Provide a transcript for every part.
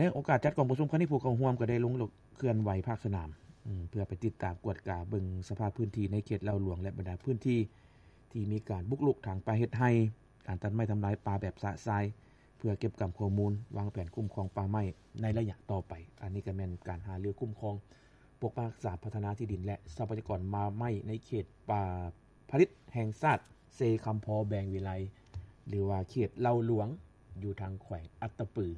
ໃນໂອກາດຈັດກອງປະຊຸມຄັ້ງນີ້ ຜູ້ເຂົ້າຮ່ວມກໍໄດ້ລົງເຄື່ອນໄຫວພາກສະໜາມ ເພື່ອໄປຕິດຕາມກວດກາເບິ່ງສະພາບພື້ນທີ່ໃນເຂດເລົ່າຫຼວງ ແລະ ບັນດາພື້ນທີ່ທີ່ມີການບຸກລຸກຖາງປ່າເຮັດໄຮ່, ການຕັດໄມ້ທຳລາຍປ່າແບບຊະຊາຍ ເພື່ອເກັບກຳຂໍ້ມູນ, ວາງແຜນຄຸ້ມຄອງປ່າໄມ້ໃນໄລຍະຕໍ່ໄປ. ອັນນີ້ກໍແມ່ນການຫາລືຄຸ້ມຄອງ ປົກປັກຮັກສາ, ພັດທະນາທີ່ດິນ ແລະ ຊັບພະຍາກອນປ່າໄມ້ໃນເຂດປ່າຜະລິດແຫ່ງຊາດເຊຄຳພໍແບງວິໄລ ຫຼືວ່າເຂດເລົ່າຫຼວງ ຢູ່ທາງແຂວງອັດຕະປື.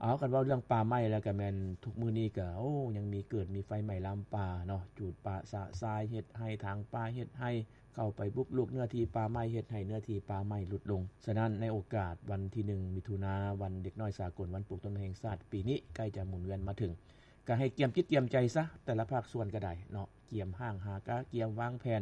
ເອົາ ຄັນເວົ້າເລື່ອງປ່າໄມ້ແລ້ວກໍແມ່ນທຸກມື້ນີ້ກໍ ໂອ້ ຍັງມີເກີດມີໄຟໄໝ້ລາມປ່າເນາະ, ຈູດປ່າຊະຊາຍ, ເຮັດໄຮ່, ຖາງປ່າເຮັດໄຮ່, ເຂົ້າໄປບຸກລຸກເນື້ອທີ່ປ່າໄມ້, ເຮັດໃຫ້ເນື້ອທີ່ປ່າໄມ້ຫຼຸດລົງ. ສະນັ້ນ ໃນໂອກາດວັນທີໜຶ່ງ ມິຖຸນາ ວັນເດັກນ້ອຍສາກົນ, ວັນປູກຕົ້ນໄມ້ແຫ່ງຊາດ, ປີນີ້ໃກ້ຈະໝູນວຽນມາເຖິງ, ກໍໃຫ້ກຽມຈິດກຽມໃຈຊະ, ແຕ່ລະພາກສ່ວນກໍໄດ້ເນາະ, ກຽມຫ້າງຫາກາ, ກຽມວາງແຜນ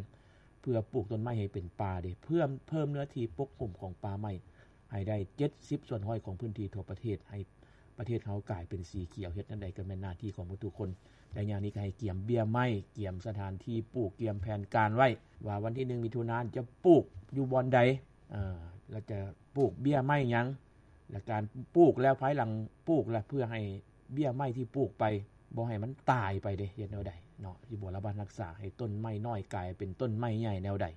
ເພື່ອປູກຕົ້ນໄມ້ໃຫ້ເປັນປ່າເດ້, ເພີ່ມ ເພີ່ມເນື້ອທີ່ປົກຫຸ້ມຂອງປ່າໄມ້ໃຫ້ໄດ້ເຈັດສິບສ່ວນຮ້ອຍຂອງພື້ນທີ່ທົ່ວປະເທດ, ໃຫ້ປະເທດເຮົາກາຍເປັນສີຂຽວ. ເຮັດແນວໃດກໍແມ່ນໜ້າທີ່ຂອງໝົດທຸກຄົນ. ໄລຍະນີ້ກໍໃຫ້ກຽມເບ້ຍໄມ້, ກຽມສະຖານທີ່ປູກ, ກຽມແຜນການໄວ້ ວ່າວັນທີໜຶ່ງ ມິຖຸນາ ຈະປູກຢູ່ບ່ອນໃດ, ເອີ ແລ້ວຈະປູກເບ້ຍໄມ້ຫຍັງ, ແລະ ການປູກແລ້ວ, ພາຍຫຼັງປູກແລ້ວ ເພື່ອໃຫ້ເບ້ຍໄມ້ທີ່ປູກໄປ ບໍ່ໃຫ້ມັນຕາຍໄປເດ້, ເຮັດແນວໃດເນາະ, ຊິບໍລະບັດຮັກສາໃຫ້ຕົ້ນໄມ້ນ້ອຍກາຍເປັນຕົ້ນໄມ້ໃຫຍ່ແນວໃດ,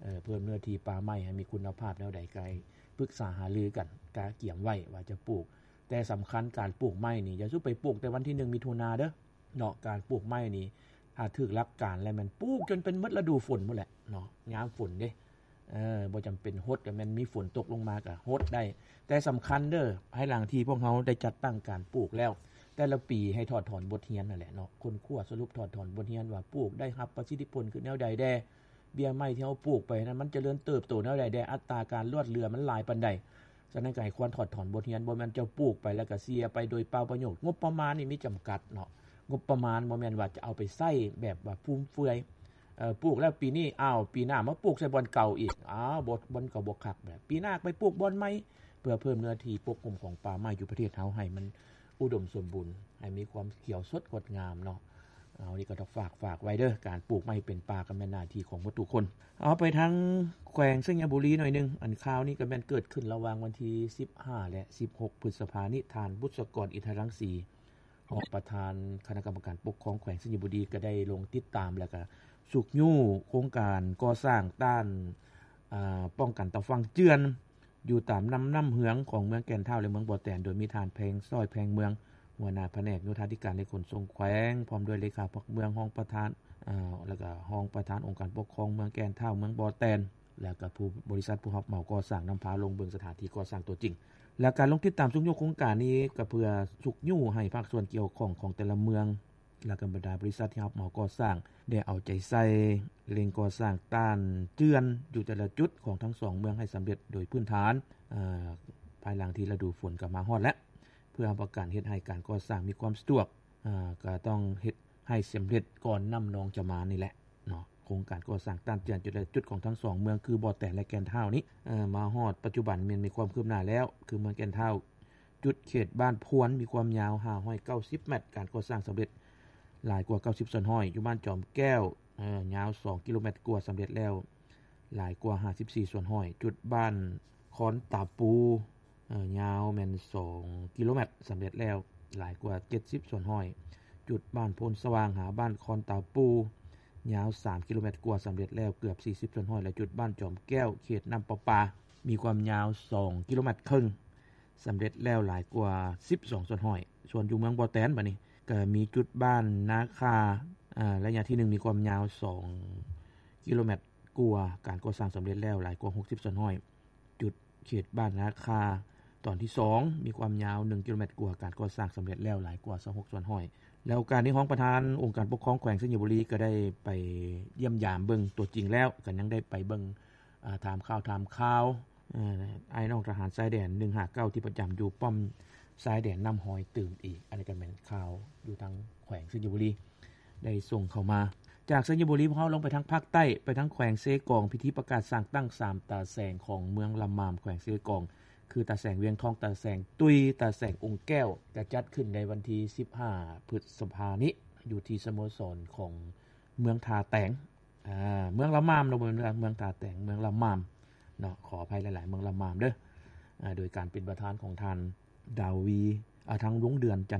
ເອີ ເພີ່ມເນື້ອທີ່ປ່າໄມ້ໃຫ້ມີຄຸນນະພາບແນວໃດ, ກໍໃຫ້ປຶກສາຫາລືກັນ, ກະກຽມໄວ້ວ່າຈະປູກ. ແຕ່ສຳຄັນ ການປູກໄມ້ນີ້ ຢ່າສູ່ໄປປູກແຕ່ວັນທີໜຶ່ງ ມິຖຸນາເດີ້ເນາະ. ການປູກໄມ້ນີ້ ຖ້າຖືກຫຼັກການແລ້ວ ແມ່ນປູກຈົນເປັນໝົດລະດູຝົນພຸ້ນແຫຼະເນາະ, ຍາມຝົນເດ້. ເອີ ບໍ່ຈຳເປັນຫົດ, ກໍແມ່ນມີຝົນຕົກລົງມາກໍຫົດໄດ້. ແຕ່ສຳຄັນເດີ້, ພາຍຫຼັງທີ່ພວກເຮົາໄດ້ຈັດຕັ້ງການປູກແລ້ວ, ແຕ່ລະປີໃຫ້ຖອດຖອນບົດຮຽນນັ້ນແຫຼະເນາະ, ຄົ້ນຄວ້າສະຫຼຸບຖອດຖອນບົດຮຽນວ່າ ປູກໄດ້ຮັບປະສິດທິຜົນຄືແນວໃດແດ່, ເບ້ຍໄມ້ທີ່ເຮົາປູກໄປນັ້ນ ມັນຈະເລີນເຕີບໂຕແນວໃດແດ່, ອັດຕາການລອດເຫຼືອມັນຫຼາຍປານໃດ. ສະນັ້ນກໍໃຫ້ຄວນຖອດຖອນບົດຮຽນ, ບໍ່ແມ່ນເຈົ້າປູກໄປແລ້ວກໍເສຍໄປໂດຍເປົ່າປະໂຫຍດ. ງົບປະມານນີ້ມີຈຳກັດເນາະ, ງົບປະມານບໍ່ແມ່ນວ່າຈະເອົາໄປໃຊ້ແບບວ່າຟຸມເຟືອຍ. ເອີ ປູກແລ້ວປີນີ້, ອ້າວ ປີໜ້າມາປູກໃສ່ບ່ອນເກົ່າອີກ, ອ້າວ ບໍ່ ມັນກໍບໍ່ຄັກແຫຼະ, ປີໜ້າໄປປູກບ່ອນໃໝ່ ເພື່ອເພີ່ມເນື້ອທີ່ປົກຫຸ້ມຂອງປ່າໄມ້ຢູ່ປະເທດເຮົາໃຫ້ມັນອຸດົມສົມບູນ, ໃຫ້ມີຄວາມຂຽວສົດງົດງາມເນາະ. ເອົາ ນີ້ກໍຕ້ອງຝາກ ຝາກໄວ້ເດີ້, ການປູກໄມ້ເປັນປ່າກໍແມ່ນໜ້າທີ່ຂອງໝົດທຸກຄົນ. ເອົາ ໄປທາງແຂວງໄຊຍະບູລີໜ້ອຍໜຶ່ງ, ອັນຂ່າວນີ້ກໍແມ່ນເກີດຂຶ້ນລະຫວ່າງວັນທີສິບຫ້າ ແລະ ສິບຫົກ ພຶດສະພານີ້, ທ່ານ ບຸດສະກອນ ອິນທະລັງສີ ຮອງປະທານຄະນະກຳມະການປົກຄອງແຂວງໄຊຍະບູລີ ກໍໄດ້ລົງຕິດຕາມ ແລ້ວກໍຊຸກຍູ້ໂຄງການກໍ່ສ້າງຕ້ານ ອາ ປ້ອງກັນຕາຝັ່ງເຈື່ອນ ຢູ່ຕາມລຳນ້ຳເຫືອງຂອງເມືອງແກ່ນທ້າວ ແລະ ເມືອງບໍ່ແຕນ, ໂດຍມີທ່ານ ແພງ ຊ້ອຍ ແພງເມືອງ ຫົວໜ້າພະແນກໂຍທາທິການ ແລະ ຂົນສົ່ງແຂວງ, ພ້ອມດ້ວຍເລຂາພັກເມືອງ, ຮອງປະທານ ອາ ແລ້ວກໍຮອງປະທານອົງການປົກຄອງເມືອງແກ່ນທ້າວ, ເມືອງບໍ່ແຕນ ແລ້ວກໍຜູ້ ບໍລິສັດຜູ້ຮັບເໝົາກໍ່ສ້າງ ນຳພາລົງເບິ່ງສະຖານທີ່ກໍ່ສ້າງຕົວຈິງ. ແລ້ວການລົງຕິດຕາມຊຸກຍູ້ໂຄງການນີ້ ກໍເພື່ອຊຸກຍູ້ໃຫ້ພາກສ່ວນກ່ຽວຂ້ອງຂອງແຕ່ລະເມືອງ ແລ້ວກໍບັນດາບໍລິສັດທີ່ຮັບເໝົາກໍ່ສ້າງ ໄດ້ເອົາໃຈໃສ່ເລັ່ງກໍ່ສ້າງຕ້ານເຈື່ອນຢູ່ແຕ່ລະຈຸດຂອງທັງສອງເມືອງໃຫ້ສຳເລັດໂດຍພື້ນຖານ, ພາຍຫຼັງທີ່ລະດູຝົນກໍມາຮອດແລ້ວ, ເພື່ອຮັບປະກັນເຮັດໃຫ້ການກໍ່ສ້າງມີຄວາມສະດວກ, ກໍຕ້ອງເຮັດໃຫ້ສຳເລັດກ່ອນນ້ຳນອງຈະມານີ້ແຫຼະເນາະ. ໂຄງການກໍ່ສ້າງຕ້ານເຈື່ອນຈຸດແລະຈຸດຂອງທັງສອງເມືອງ ຄືບໍ່ແຕນ ແລະ ແກ່ນທ້າວນີ້ ເອີ ມາຮອດປັດຈຸບັນແມ່ນມີຄວາມຄືບໜ້າແລ້ວ, ຄືເມືອງແກ່ນທ້າວ ຈຸດເຂດບ້ານພວນ ມີຄວາມຍາວຫ້າຮ້ອຍເກົ້າສິບແມັດ, ການກໍ່ສ້າງສຳເລັດຫຼາຍກວ່າເກົ້າສິບສ່ວນຮ້ອຍ. ຢູ່ບ້ານຈອມແກ້ວ ເອີ ຍາວສອງກິໂລແມັດກວ່າ, ສຳເລັດແລ້ວຫຼາຍກວ່າຫ້າສິບສີ່ສ່ວນຮ້ອຍ. ຈຸດບ້ານຄອນຕາປູ ເອີ ຍາວແມ່ນສອງກິໂລແມັດ, ສຳເລັດແລ້ວຫຼາຍກວ່າເຈັດສິບສ່ວນຮ້ອຍ. ຈຸດບ້ານໂພນສະຫວ່າງຫາບ້ານຄອນຕາປູ ຍາວສາມກິໂລແມັດກວ່າ, ສຳເລັດແລ້ວເກືອບສີ່ສິບສ່ວນຮ້ອຍ ແລະ ຈຸດບ້ານຈອມແກ້ວ ເຂດນ້ຳປະປາ ມີຄວາມຍາວສອງກິໂລແມັດເຄິ່ງ, ສຳເລັດແລ້ວຫຼາຍກວ່າສິບສອງສ່ວນຮ້ອຍ. ສ່ວນຢູ່ເມືອງບໍ່ແຕນ ບາດນີ້ກໍມີຈຸດບ້ານນາຄາ ອາ ໄລຍະທີໜຶ່ງ ມີຄວາມຍາວສອງກິໂລແມັດກວ່າ, ການກໍ່ສ້າງສຳເລັດແລ້ວຫຼາຍກວ່າຫົກສິບສ່ວນຮ້ອຍ. ຈຸດເຂດບ້ານນາຄາຕອນທີສອງ ມີຄວາມຍາວໜຶ່ງກິໂລແມັດກວ່າ, ການກໍ່ສ້າງສຳເລັດແລ້ວຫຼາຍກວ່າຊາວຫົກສ່ວນຮ້ອຍ. ແລ້ວການນີ້ ຮອງປະທານອົງການປົກຄອງແຂວງໄຊຍະບູລີ ກໍໄດ້ໄປຢ້ຽມຢາມເບິ່ງຕົວຈິງແລ້ວ, ກໍຍັງໄດ້ໄປເບິ່ງ ອາ ຖາມຂ່າວ ຖາມຂ່າວ ເອີ ອ້າຍນ້ອງທະຫານຊາຍແດນໜຶ່ງຫ້າເກົ້າ ທີ່ປະຈຳຢູ່ປ້ອມຊາຍແດນນ້ຳຮອຍຕື່ມອີກ. ອັນນີ້ກໍແມ່ນຂ່າວຢູ່ທາງແຂວງໄຊຍະບູລີ ໄດ້ສົ່ງເຂົ້າມາ. ຈາກໄຊຍະບູລີ ພວກເຮົາລົງໄປທາງພາກໃຕ້, ໄປທາງແຂວງເຊກອງ, ພິທີປະກາດສ້າງຕັ້ງສາມຕາແສງຂອງເມືອງລະມາມ ແຂວງເຊກອງ ຄືຕາແສງວຽງທອງ, ຕາແສງຕຸ້ຍ, ຕາແສງອົງແກ້ວ ຈະຈັດຂຶ້ນໃນວັນທີສິບຫ້າ ພຶດສະພານີ້ ຢູ່ທີ່ສະໂມສອນຂອງເມືອງທ່າແຕງ ອາ ເມືອງລະມາມເນາະ, ບໍ່ແມ່ນເມືອງທ່າແຕງ, ເມືອງລະມາມເນາະ, ຂໍອະໄພຫຼາຍໆ, ເມືອງລະມາມເດີ້. ອາ ໂດຍການເປັນປະທານຂອງທ່ານ ດາວີ ທາງ ວງເດືອນ ຈັ